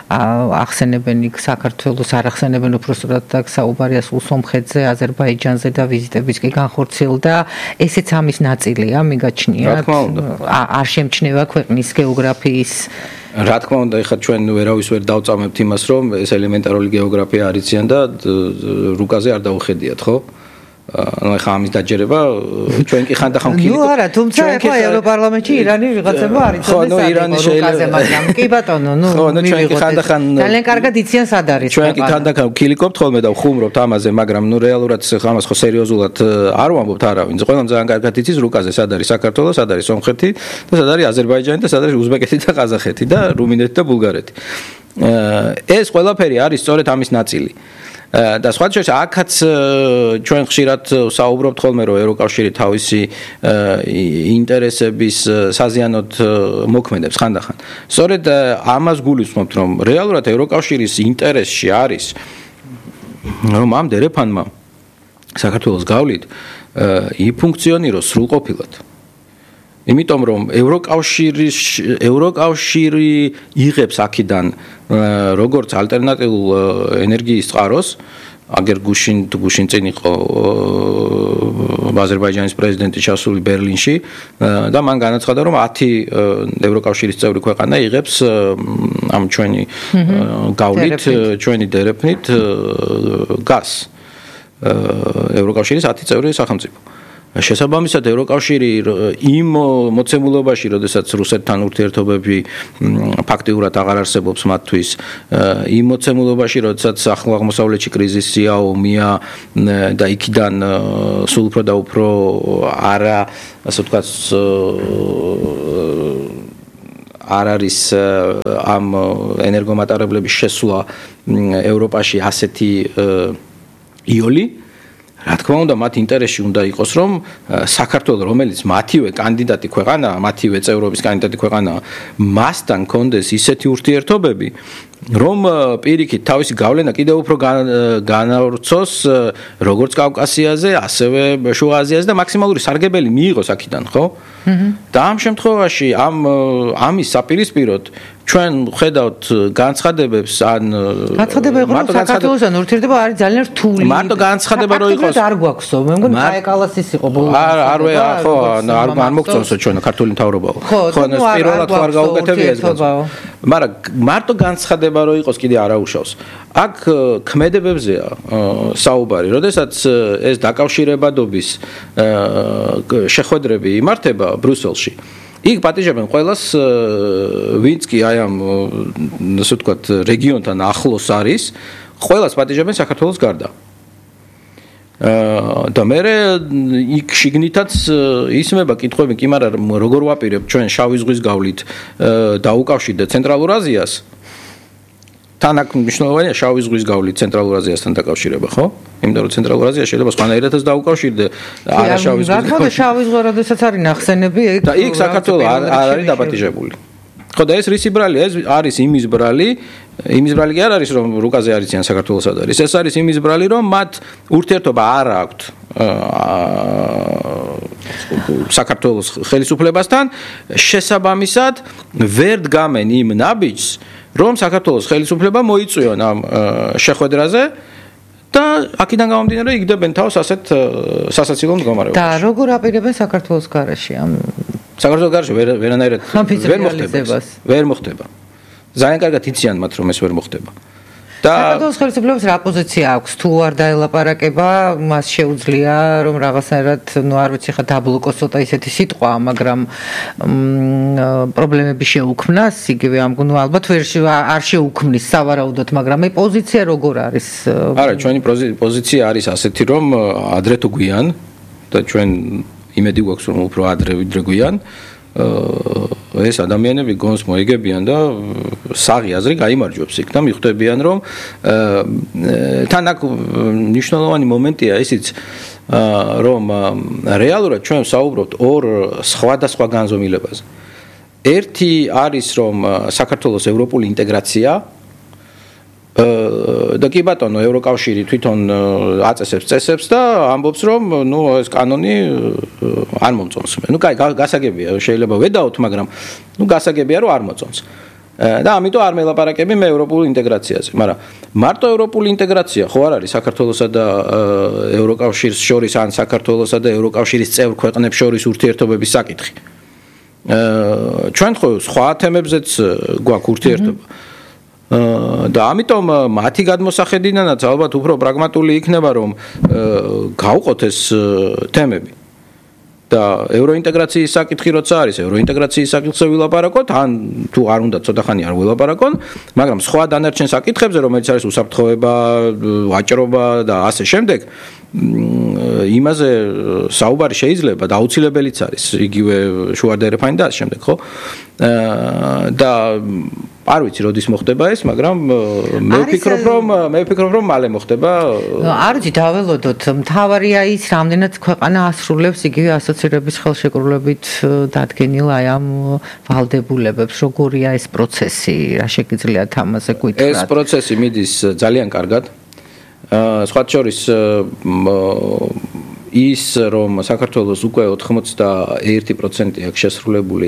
A: ახსენებენ იქ საქართველოს, არ ახსენებენ უბრალოდ და საუბარია სულ სომხეთზე, აზერბაიჯანზე და ვიზიტების კი განხორციელდა. ესეც ამის ნაწილია, მიგაჩნიათ. არ შემჩნევა ქვეყნის გეოგრაფიის.
B: რა თქმა უნდა, ეხლა ჩვენ ვერავის ვერ დავწამებთ იმას, რომ ეს ელემენტარული გეოგრაფია არ იციან და რუკაზე არ დაუხედიათ, ხო? ანუ ეხლა ამის დაჯერება ჩვენ კი ხანდახან ვქილიკობთ.
A: ნუ არა, თუმცა ეხლა ევროპარლამენტში ირანი ვიღაცება არ იცოდეს რუკაზე, მაგრამ კი ბატონო, ნუ
B: ჩვენ კი ხანდახან
A: ძალიან კარგად იციან სად არის.
B: ჩვენ კი ხანდახან ვქილიკობთ ხოლმე და ვხუმრობთ ამაზე, მაგრამ ნუ რეალურად ამას ხო სერიოზულად არ ვამბობთ არავინ. ყველამ ძალიან კარგად იცის რუკაზე სად არის საქართველო, სად არის სომხეთი და სად არის აზერბაიჯანი და სად არის უზბეკეთი და ყაზახეთი და რუმინეთი და ბულგარეთი. ეს ყველაფერი არის სწორედ ამის ნაწილი. და სხვა შორის აქაც ჩვენ ხშირად საუბრობთ ხოლმე რომ ევროკავშირი თავისი ინტერესების საზიანოდ მოქმედებს ხანდახან. სწორედ ამას გულისხმობთ რომ რეალურად ევროკავშირის ინტერესში არის რომ ამ დერეფანმა საქართველოს გავლით იფუნქციონიროს სრულყოფილად. იმიტომ რომ ევროკავშირი იღებს აქედან როგორც ალტერნატიულ ენერგიის წყაროს, აგერ გუშინ წინ იყო აზერბაიჯანის პრეზიდენტი ჩასული ბერლინში და მან განაცხადა რომ 10 ევროკავშირის წევრი ქვეყანა იღებს ამ ჩვენი გავლით, ჩვენი დერეფნით გაზს. ევროკავშირის 10 წევრი სახელმწიფო. შესაბამისად ევროკავშირი იმ მოცემულობაში, როდესაც რუსეთთან ურთიერთობები ფაქტიურად აღარ არსებობს მათთვის, იმ მოცემულობაში, როდესაც ახლო აღმოსავლეთში კრიზისია, ომია და იქიდან სულ უფრო და უფრო არა, ასე ვთქვათ, არ არის ამ ენერგომატარებლების შესვლა ევროპაში ასეთი იოლი. რა თქმა უნდა, მათ ინტერესში უნდა იყოს, რომ საქართველოს, რომელიც მათივე კანდიდატი ქვეყანაა, მათივე წევრობის კანდიდატი ქვეყანაა, მასთან კონდეს ისეთი ურთიერთობები, რომ პირიქით თავისი გავლენა კიდევ უფრო განავრცოს როგორც კავკასიაზე, ასევე შუა აზიაზე და მაქსიმალური სარგებელი მიიღოს აქედან, ხო? და ამ შემთხვევაში ამის საპირისპიროდ ჩვენ ხედავთ განცხადებებს ან
A: განცხადება იყო რომ საქართველოსთან ურთიერთობა არის ძალიან რთული.
B: მარტო განცხადება რო იყოს.
A: არ გვაქვსო, მე მგონი კაეკალასის იყო ბოლოს.
B: ხო, არ მოგწონსო ჩვენ ქართული მთავრობაო. ხო, პირველად ხო არ გაუკეთებია ეს განცხადება. მაგრამ მარტო განცხადება რო იყოს კიდე არაუშავს. აქ ქმედებებზეა საუბარი, როდესაც ეს დაკავშირებადობის შეხვედრები იმართება ბრიუსელში. იქ პატიჟებენ ყველას, ვინც კი აი ამ ასე ვთქვათ რეგიონთან ახლოს არის, ყველას პატიჟებენ საქართველოს გარდა. და მე იქ შიგნითაც ისმება კითხვები, კი მაგრამ როგორ ვაპირებ ჩვენ შავი ზღვის გავლით დაუკავშირდეთ ცენტრალურ აზიას? თან აქ მნიშვნელოვანია შავი ზღვის გავლით ცენტრალურ აზიასთან დაკავშირება, ხო? იმიტომ რომ ცენტრალურ აზია შეიძლება სხვანაირადაც დაუკავშირდე არა შავი ზღვის.
A: რა თქმა უნდა, შავი ზღვა როდესაც არის ნახსენები,
B: და იქ საქართველო არ არის დაპატიჟებული. ხო და ეს რისი ბრალი? ეს არის იმის ბრალი კი არ არის რომ რუკაზე არიციან საქართველოსად არის. ეს არის იმის ბრალი რომ მათ ურთიერთობა არ აქვთ საქართველოს ხელისუფლებასთან, შესაბამისად ვერ დგამენ იმ ნაბიჯს, რომ საქართველოს ხელისუფლება მოიწვიონ ამ შეხვედრაზე და აქედან გამომდინარე იგდებენ თავს ასეთ სასაცილო მდგომარეობაში. და
A: როგორ აპირებენ საქართველოს გარეშე ამ
B: საქართველოს გარეშე ვერანაირად ვერ მოხდება. ძალიან კარგად იციან მათ რომ ეს ვერ მოხდება.
A: და საქართველოს ხელისუფლებას რა პოზიცია აქვს? თუ არ დაელაპარაკება, მას შეუძლია რომ რაღაცნაირად, არ ვიცი ხა დაბლოკოს ცოტა ისეთი სიტყვა, მაგრამ პრობლემები შეუქმნას, იგივე ალბათ არ შეუქმნის სავარაუდოდ, მაგრამ ეს პოზიცია როგორ არის?
B: არა, ჩვენი პოზიცია არის ასეთი, რომ ადრე თუ გვიან და ჩვენ იმედი გვაქვს რომ უფრო ადრე ვიდრე გვიან ეს ადამიანები გონს მოიგებიან და საღი აზრი გაიმარჯვებს იქ და მიხვდებიან რომ თან აქ მნიშვნელოვანი მომენტია ისიც რომ რეალურად ჩვენ საუბრობთ ორ სხვადასხვა განზომილებაზე. ერთი არის რომ საქართველოს ევროპული ინტეგრაცია და კი ბატონო ევროკავშირი თვითონ აწესებს წესებს და ამბობს რომ ეს კანონი არ მომწონს. კაი გასაგებია შეიძლება ვედაოთ, მაგრამ გასაგებია რომ არ მოწონს. და ამიტომ არ მელაპარაკები მე ევროპულ ინტეგრაციაზე. მაგრამ მარტო ევროპული ინტეგრაცია ხო არ არის საქართველოსა და ევროკავშირის შორის ან საქართველოსა და ევროკავშირის წევრ ქვეყნებს შორის ურთიერთობების საკითხი. ჩვენ ხო სხვა თემებზეც გვაქვს ურთიერთობა. და ამიტომ მათი გადმოსახედიდანაც ალბათ უფრო პრაგმატული იქნება რომ გავყოთ ეს თემები. და ევროინტეგრაციის საკითხი როცა არის, ევროინტეგრაციის საკითხზე ვილაპარაკოთ, ან თუ არ უნდა ცოტა ხანი არ ვილაპარაკონ, მაგრამ სხვა დანარჩენ საკითხებზე, რომელიც არის უსაფრთხოება, ვაჭრობა და ასე შემდეგ, იმაზე საუბარი შეიძლება და აუცილებელიც არის, იგივე შუადერეფანი და ასე შემდეგ, ხო? და არ ვიცი როდის მოხდება ეს, მაგრამ მე ვფიქრობ რომ მალე მოხდება.
A: არ ვიცი, დაველოდოთ, მთავარია ის, რამდენად ქვეყანა ასრულებს იგივე ასოცირების ხელშეკრულებით დადგენილ აი ამ ვალდებულებებს, როგორია ეს პროცესი, რა შეგიძლიათ ამაზე გითხრათ?
B: ეს პროცესი მიდის ძალიან კარგად. სხვა შორის ის რომ საქართველოს უკვე 81% აქვს შესრულებული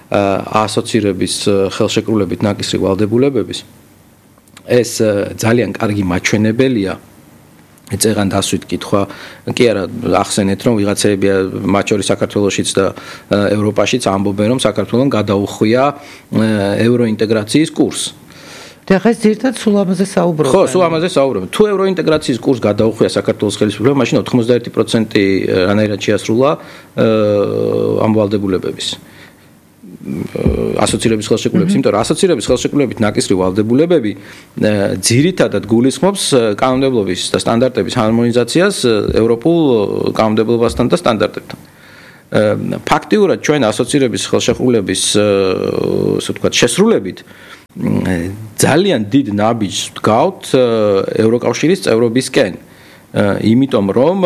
B: ასოცირების ხელშეკრულებით ნაკისრი ვალდებულებების ეს ძალიან კარგი მაჩვენებელია ეცეღან დასვით კითხვა კი არა ახსენეთ რომ ვიღაცები მათ შორის საქართველოსიც და ევროპაშიც ამბობენ რომ საქართველოს გადაუხვია ევროინტეგრაციის კურსს
A: და ხეს ზირთად სულ ამაზე საუბრობენ.
B: ხო, სულ ამაზე საუბრობენ. თუ ევროინტეგრაციის კურსს გადაუხვია საქართველოს ხელისუფლება, მაშინ 91% რანაირად შეასრულა ამ ვალდებულებების. ასოცირების ხელშეკრულების, იმიტომ რომ ასოცირების ხელშეკრულებით ნაკისრი ვალდებულებები ძირითადად გულისხმობს კანონმდებლობის და სტანდარტების ჰარმონიზაციას ევროპულ კანონმდებლობასთან და სტანდარტებთან. ფაქტიურად ჩვენ ასოცირების ხელშეკრულების ასე ვთქვათ შესრულებით ძალიან დიდ ნაბიჯს ვდგავთ ევროკავშირის წევრობისკენ. იმიტომ რომ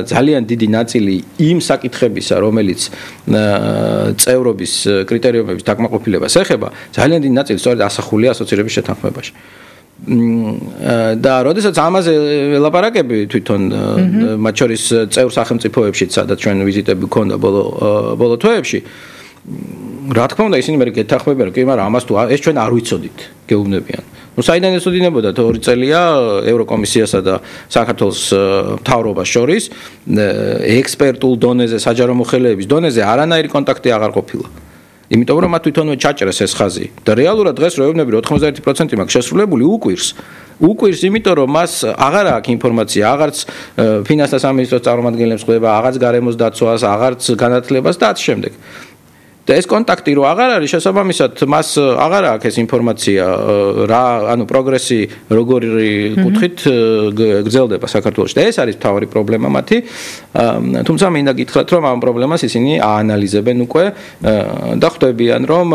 B: ძალიან დიდი ნაწილი იმ საკითხებისა, რომელიც წევრობის კრიტერიუმების დაკმაყოფილებას ეხება, ძალიან დიდი ნაწილი სწორედ ასახულია ასოცირების შეთანხმებაში. და როდესაც ამაზე ელაპარაკები თვითონ მათ შორის წევრ სახელმწიფოებშიც, სადაც ჩვენ ვიზიტები გქონდა ბოლო თვეებში, რა თქმა უნდა ისინი მე გეთანხმებიან, კი, მაგრამ ამას თუ ეს ჩვენ არ ვიცოდით, გეუბნებიან. ну საიდან ესოდინებოდა 2 წელია ევროკომისიასა და საქართველოს მთავრობას შორის ექსპერტულ დონეზე, საჯარო მოხელეების დონეზე არანაირი კონტაქტი აღარ ყოფილა. იმიტომ რომ მათ თვითონვე ჩაჭრეს ეს ხაზი და რეალურად დღეს რო ეუბნები 91% მაქვს შესრულებული უკვირს, იმიტომ რომ მას აღარ აქვს ინფორმაცია, აღარც ფინანსთა სამინისტროს წარმომადგენლებს ხვდება, აღარც გარემოს დაცვას, აღარც განათლებას და ამ შემდეგ. და ეს კონტაქტი რო აღარ არის შესაბამისად მას აღარ აქვს ეს ინფორმაცია რა ანუ პროგრესი როგორი კუთხით გრძელდება საქართველოში და ეს არის მთავარი პრობლემა მათი თუმცა მინდა გითხრათ რომ ამ პრობლემას ისინი აანალიზებენ უკვე და ხვდებიან რომ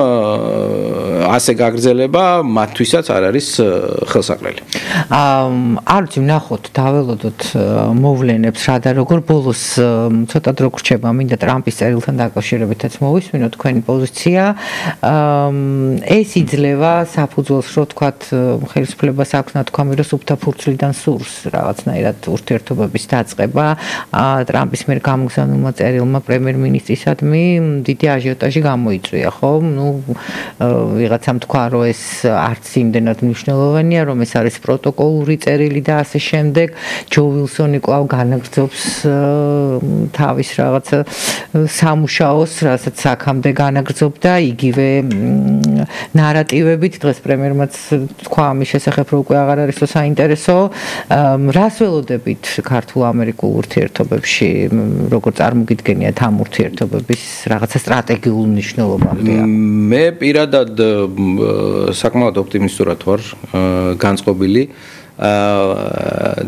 B: ასე გაგრძელება მათთვისაც არ არის ხელსაყრელი
A: არ ვიცი ვნახოთ დაველოდოთ მოვლენებს რა და როგორ ბოლოს ცოტა დრო გრჩება მინდა ტრამპის წერილთან დაკავშირებითაც მოვისმინოთ თქვენი პოზიცია ეს იძლევა საფუძველს რო თქვათ ხელისუფლებას აქვს ნათქვამი რომ სუფთა ფურცლიდან სურს რაღაცნაირად ურთიერთობების დაწყება ტრამპის მიერ გამოგზავნულმა წერილმა პრემიერ-მინისტრისადმი დიდი აჟიოტაჟი გამოიწვია ხო ნუ ვიღაცამ თქვა რომ ეს არც იმდენად მნიშვნელოვანია რომ ეს არის პროტოკოლური წერილი და ასე შემდეგ ჯო ვილსონი კვლავ განაგრძობს თავის რაღაცა სამუშაოს რასაც აქამდე განაგრძობდა იგივე ნარატივებით დღეს პრემიერმაც თქვა ამის შესახებ რომ უკვე აღარ არის საინტერესო რას ველოდებით ქართულ-ამერიკულ ურთიერთობებში როგორ წარმოგიდგენიათ ამ ურთიერთობების რაღაცა სტრატეგიულ მნიშვნელობამდეა
B: მე პირადად საკმაოდ ოპტიმისტურად ვარ განწყობილი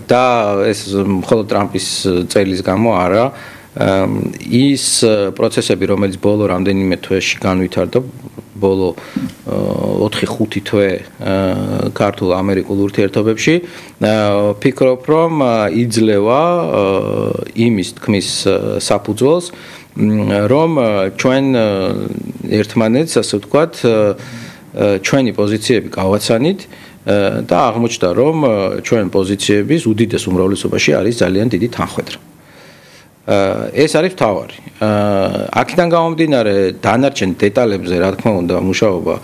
B: და ეს მხოლოდ ტრამპის წელის გამო არა ის პროცესები რომელიც ბოლო რამდენიმე თვეში განვითარდა ბოლო 4-5 თვე ქართულ-ამერიკულ ურთიერთობებში ფიქრობ რომ იძლევა იმის თქმის საფუძველს რომ ჩვენ ერთმანეთს ასე ვთქვათ ჩვენი პოზიციები გავაცანით და აღმოჩნდა რომ ჩვენ პოზიციების უდიდეს უმრავლესობაში არის ძალიან დიდი თანხwebdriver ეს არის მთავარი. აქედან გამომდინარე დანარჩენ დეტალებზე რა თქმა უნდა მუშაობა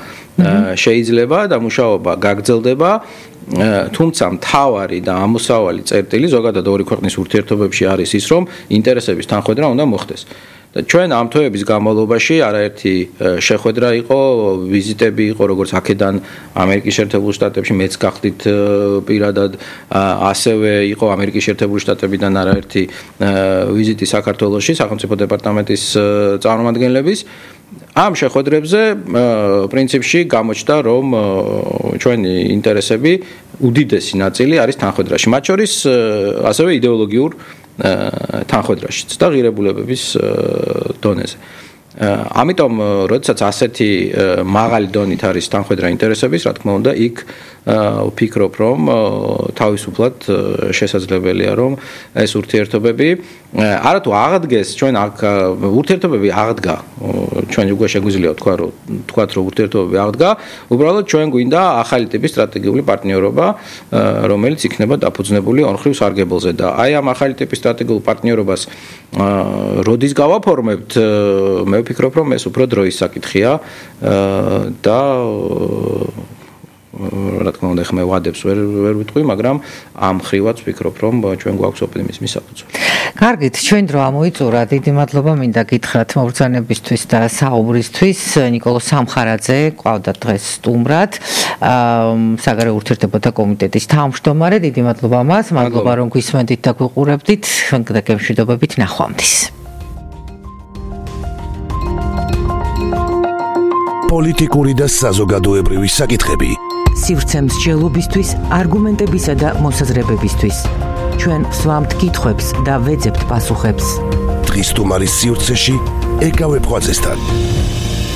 B: შეიძლება და მუშაობა გაგრძელდება თუმცა მთავარი და ამოსავალი წერტილი ზოგადად ორი ქვეყნის ურთიერთობებში არის ის რომ ინტერესების თანხwebdriver უნდა მოხდეს. და ჩვენ ამ თვეების განმავლობაში არაერთი შეხვედრა იყო, ვიზიტები იყო, როგორც აქედან ამერიკის შეერთებულ შტატებში მეც გახდით პირადად, ასევე იყო ამერიკის შეერთებული შტატებიდან არაერთი ვიზიტი საქართველოში, სახელმწიფო დეპარტამენტის წარმომადგენლების. ამ შეხვედრებზე პრინციპში გამოჩნდა, რომ ჩვენი ინტერესები უდიდესი ნაწილი არის თანხwebdriverში, მათ შორის ასევე იდეოლოგიურ თანხwebdriverშიც და ღირებულებების დონეზე. ამიტომ, როდესაც ასეთი მაღალი დონით არის თანხwebdriver ინტერესების, რა თქმა უნდა, იქ ვფიქრობ, რომ თავისუფლად შესაძლებელია, რომ ეს ურთიერთობები არათუ აღდგეს ჩვენ აქ ურთიერთობები აღდგა ჩვენ უკვე შეგვიძლია თქვათ რომ ურთიერთობები აღდგა უბრალოდ ჩვენ გვინდა ახალი ტიპის სტრატეგიული პარტნიორობა რომელიც იქნება დაფუძნებული ორმხრივ სარგებელზე და აი ამ ახალი ტიპის სტრატეგიულ პარტნიორობას როდის გავაფორმებთ მე ვფიქრობ რომ ეს უფრო დროის საკითხია და რა თქმა უნდა ხმე ვადებს ვერ ვიტყვი, მაგრამ ამ ხრივაც ვფიქრობ, რომ ჩვენ გვაქვს ოპტიმიზმის საფუძველი.
A: კარგით, ჩვენ დრო ამოიწურა. დიდი მადლობა მინდა გითხრათ მოგზაურობისთვის და საუბრისთვის. ნიკოლოზ სამხარაძე ყავდა დღეს სტუმრად. საგარეო ურთიერთობათა კომიტეტის თავმჯდომარე. დიდი მადლობა მას. მადლობა რომ გვისმენდით და გვიყურებდით. და გემშვიდობებით ნახვამდის.
C: პოლიტიკური და საზოგადოებრივი საკითხები.
A: სივრცე მსჯელობისთვის, არგუმენტებისა და მოსაზრებებისთვის. ჩვენ ვსვამთ კითხვებს და ვეძებთ პასუხებს.
C: დღის სტუმარის სივრცეში ეკავ ეპხვაძესთან.